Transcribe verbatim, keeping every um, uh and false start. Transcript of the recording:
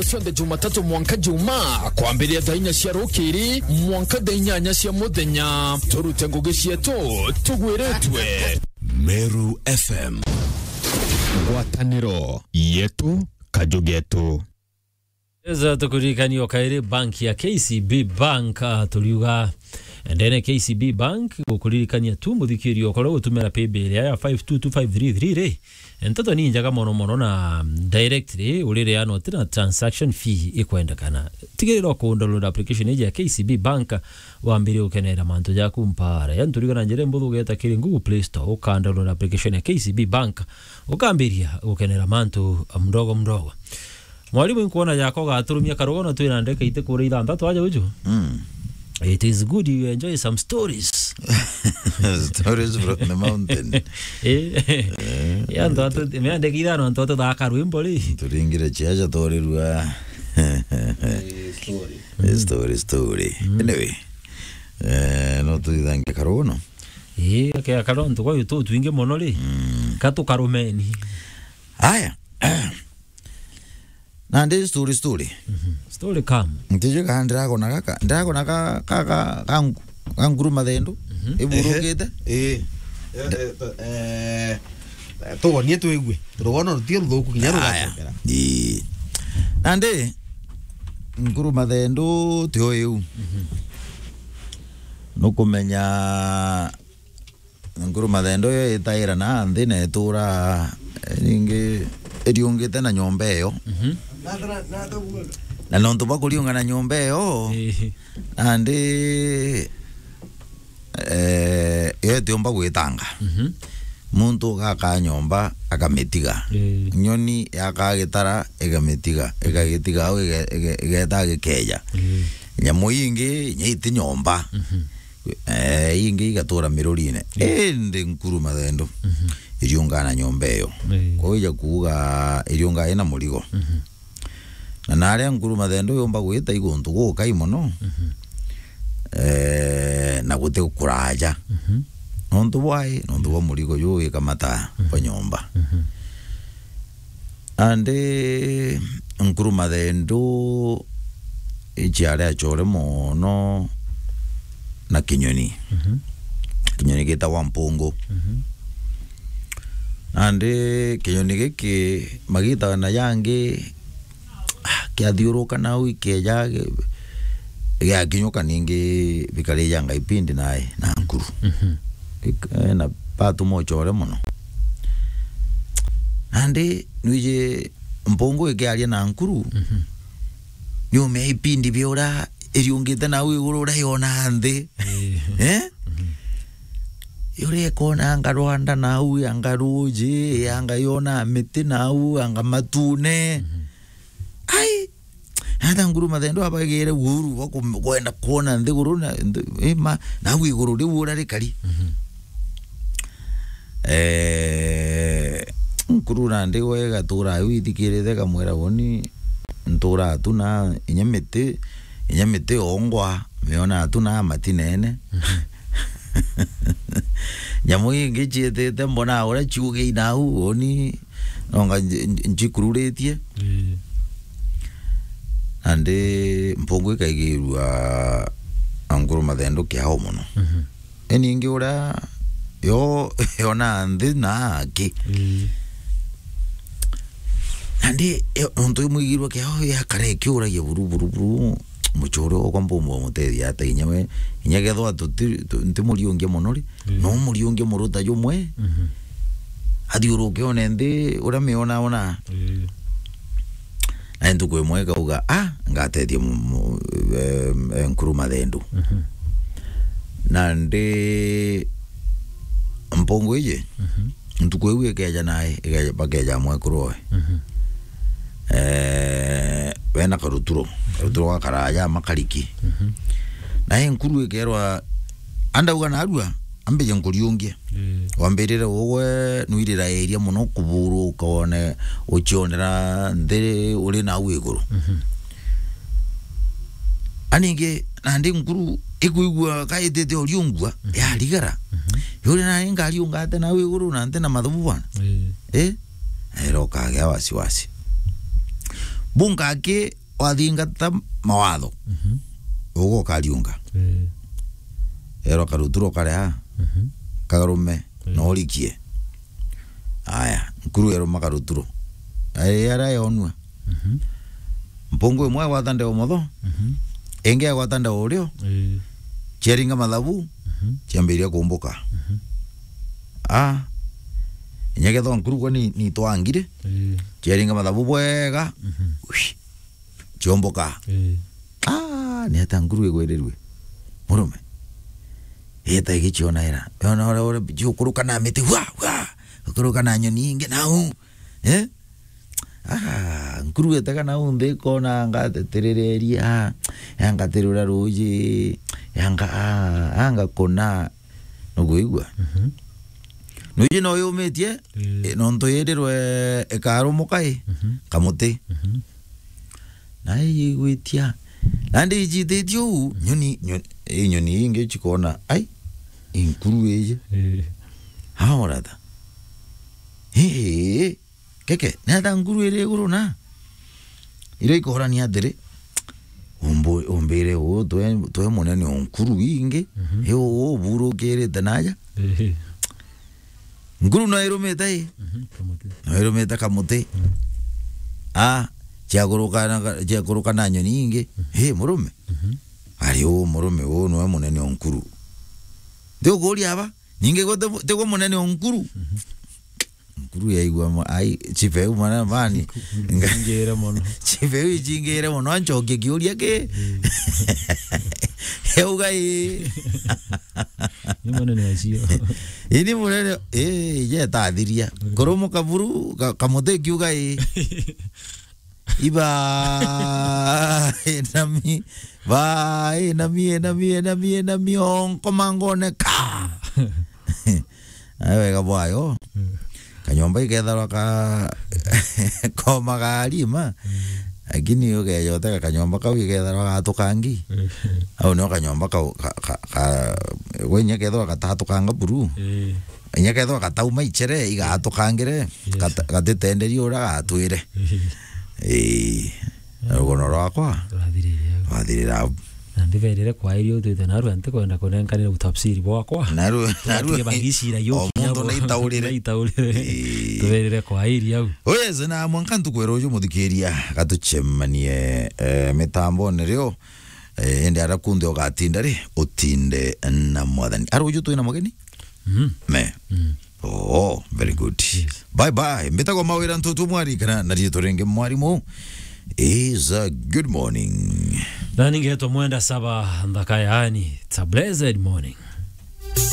Cionthe Jumatatu mwanka Juma, kwambiria thaa inya cia rukiri mwanka thaa inyanya cia muthenya. Turute ngugi cietu tugwiritwe. Meru F M. Ngwataniro yetu, kaju getu. Eza tukuririkania o kairi bank ya K C B Bank, ah, turiuga ndene K C B Bank gukuririkania tu muthikiri okoro gutumira paybill ya five two two five three three ri. Nteto ni injaga mono mono na directly urireana uti na transaction fee ikwendekana. Tigirira ku download application iji ya K C B Bank wambire gukenera mantu jaku mpara. Yani turiuga na njira imbuthu ugeta kiri Google Play Store, uka download application ya K C B Bank, ukambiria gukenera mantu mdogo mdogo. Mwarimu, inkwona jako gaturumia karugono twina ndeka iti kura ithanthatu aja uju. Mm. It is good you enjoy some stories. Stories from the mountain. Eh. Eh. Ya ntwatu, me ndeka ithano ntwatu thaka rwimbo ri. Turingire chiacha torirua. Eh, story. Eh, story, story. Mm. Anyway. Eh, no tuithange karugono. Eh, ke karugono tuko yu tu twingi mono ri. Mm. Katukarumeni. Aya. Nandi story, story. Mhm. Story come. Ntiji kana ndiragona gaka, ndiragona ga, ga, ga, ga nku-, ga nkuru mathendu. Mhm. Iburukite. Ehe. Eh. Eh, eh, eh, tugonie twigue. Rugono rutio ruthuku kinya rugacokera. Ii. Nandi nkuru mathendu tio iu. Mhm. Nukumenya Nkuru mathendu yo itaira na nthi na itura, eh, ningi iriungite na nyomba iyo. Mhm. Na nontu bwa kuriunga na nyomba iyo, ii, nandi, eh, yo itiumba gwitanga. Mhm. Muntu ugaka nyomba akamitiga. Ii. Nyoni yakaa gitara ikamitiga, igagitiga au ige-, ige-, igeta gikeja. Ii. Nyamu ingi inya iti nyomba. Mhm. Eh, ingi igatura mirurine. Yes. Indi nkuru mathendu, mhm, iriungaa na nyomba iyo. Eh. Kwou ija kuuga iriungaa ina murigo. Mhm. Na naria nkuru mathendu yumba gwita i guntu gukai mono, mhm, eh, na guti kuraja. Mhm. Nontu bwai, nontu bwa murigo juu wikamataa, mhm, bwa nyomba. Mhm. Nandi nkuru mathendu iciari achore mono na kinyoni. Mhm. Kinyoni gitagwa mpungu. Mhm. Nandi kinyoni giki magita na jangi, ah, kiathiuruka nau ikeja gi-, giakinyuka ningi bikarijanga ipindi nae na nkuru. Mhm. Ik-, eh, na batuma uchore mono. Nandi nwiji mpungu ikiaria na nkuru, mhm, niumea ipindi bia uria iriungite nau iguru uria yona nthi. Ii. Eh? Mhm. Uria ikona anga rwanda nau, anga ruji, anga yona miti nau, anga matune. Mhm. Ai, Natha nkuru mathendu abagire uhuru bwa kum-, kwenda kwona nthiguru na, nthu-, i ma, nau iguru riu uria rikari. Mhm. Eh, nkuru nandi we gatura au ithikirite, kamwira, "Woni ntura tu na inya miti, inya miti yongwa, miona tu na matinene." Mhm. Nyamu ingi ciitite, mbona uria ciugi inau, woni nonga nji-, nji-, njikururitie. Ii. Nandi mpungu ikaigirua nkuru mathendu kiao mono. Mhm. Iningi uria yo, yona nthi na aki. Ii. Nandi yo, nontu imwigirua kiao yakara ikiuragia buru, buru, buru, mucuri okwa mbumba umutethia ata inya we, inya kethwa tuti-, tu-, ntimuriungia mono ri, mm, no muriungia muruta jumwe, mhm, athiuruke one nthi uria miona ona. Mm. Na ntuku imwe ikauga, "Ah, ngatethia mu-, mu-, eh, eh, nkuru mathendu." Mhm. Nandi mpungu iji, mhm, ntuku iu ikeja nae, ikeja, bakeja mwekuru oe. Mhm. Eh, wena karuturo, karuturo gakaraja makariki. Mhm. Nae nkuru ikerwa, andauga narua, ambije nkuriungie. Mm. Wambirire ugwe nwirira iria mono kuburuka one ucionera nthi uri nau iguru. Mhm. Aningi nandi nkuru ikwigua kaitite uriungua, mhm, yarigara. Mhm. Yuri nani ngariunga ate nau iguru na nthi na mathubu bwana? Mm. Eh? Nairo ukagea wasiwasi. Bunka aki wathingata mawatho. Mhm. Ugo kariunga. Eh. Ero karuturo kare ha. Mhm. Kagarume. Eh. No urikie. Aya, nkuru eruma karuturo. Ai, ara yonua. Mhm. Mpungu imwe egwata ndeo motho. Mhm. Ingi egwata ndeo urio. Eh. Ciaringa mathabu. Mhm. Ciambiria kumbuka. Mhm. Ah. Inya kethwa nkuru kwa ni, ni twangire. Eh. Ciaringa mathabu bwega. Mhm. Uish. Ciomboka. Eh. Ah, ni ata nkuru igwirirue? Murume. Eta igiciona ira. Yona ora, ora, ciukuruka na miti. Wa, wa. Ukuruka na nyoni ingi nau. Eh? Ah, nkuru etega nau nthi ikona ngateterereria. Yangatirura ruji. Yanga, ah, anga kuna. Nukwigua? Mhm. Nuji no yumitie, mm, eh, nontu yirirwe ikarumuka i, mhm, kamuti. Mhm. Na igwitia. Nandi ijititie uu, nyoni, nyoni, i nyoni ingi cikona, ai, i nkuru iji. Eh. Haora ta. Hii. Keke, neta nkuru iri iguru na? Iria ikorania atiri, umbu-, umbire uu, twe, twe munene o nkuru ingi, mhm, i uu uburukirite naja. Ehe. Nkuru no irumite i? Mhm, kamuti. No irumite kamuti. Mhm. Ah, ciakuruka na ka-, ciakuruka na nyoni ingi. Mhm. Hi, murume. Mhm. Ari uu murume uu nwe munene o nkuru. Ndi ukuria aba, ningi gwe ti-, tigwe munene o nkuru. Mhm. Nkuru yaigua mo-, ai, chief eu mwana mani. Ingire mono. Chief eu ichingire mono, anchokie kiuria ki? Mm. Euga i. Ni munene acio. Ini munene, eh, ije tathiria. Mm. Kurumu kaburu, ka-, kamuti kiuga i. Iba, enami, ba, enami, enami, enami, enami, onko mangone ka. Ai wega bwayo. Mm. Kanyomba iketharwa ka koma ga rima. Mm. Lakini ukeja utega kanyomba kau iketharwa gatukangi. Mm. Au nio kanyomba kau ka, ka, ka, gwe inya kethwa gatatukanga buru. Eh. Inya kethwa gatauma ichere igatukangire. Yes. Gata-, gatitenderia uria gatwire. Eh. Eh. Rugono rwakwa rwathirire au. Rwathirire au. Na ndiberire kwairia utwite narua ntikwenda kunenkanira utafsiri bwakwa. Narua, narua. Tutige bagicira yo o mundu kinyabo. Naitaurire. Naitaurire. Ii. Tuberire kwairia au. Oyeze na mwanka ntukwera uju muthikiria gatucemanie, eh, mitambone rio, eh, ende ara kunthe ugatinda ri, utinde na mwathani. Ara uju twina mugeni? Mm. Me. Mm. Oh, very good. Yes. Bye bye. Mbitagwa Mawira Ntutu Mwari kana na riitwa ringi mwarimu. Is a good morning. Na ningetwa Mwenda Saba Nthaka, yani, it's a blessed morning.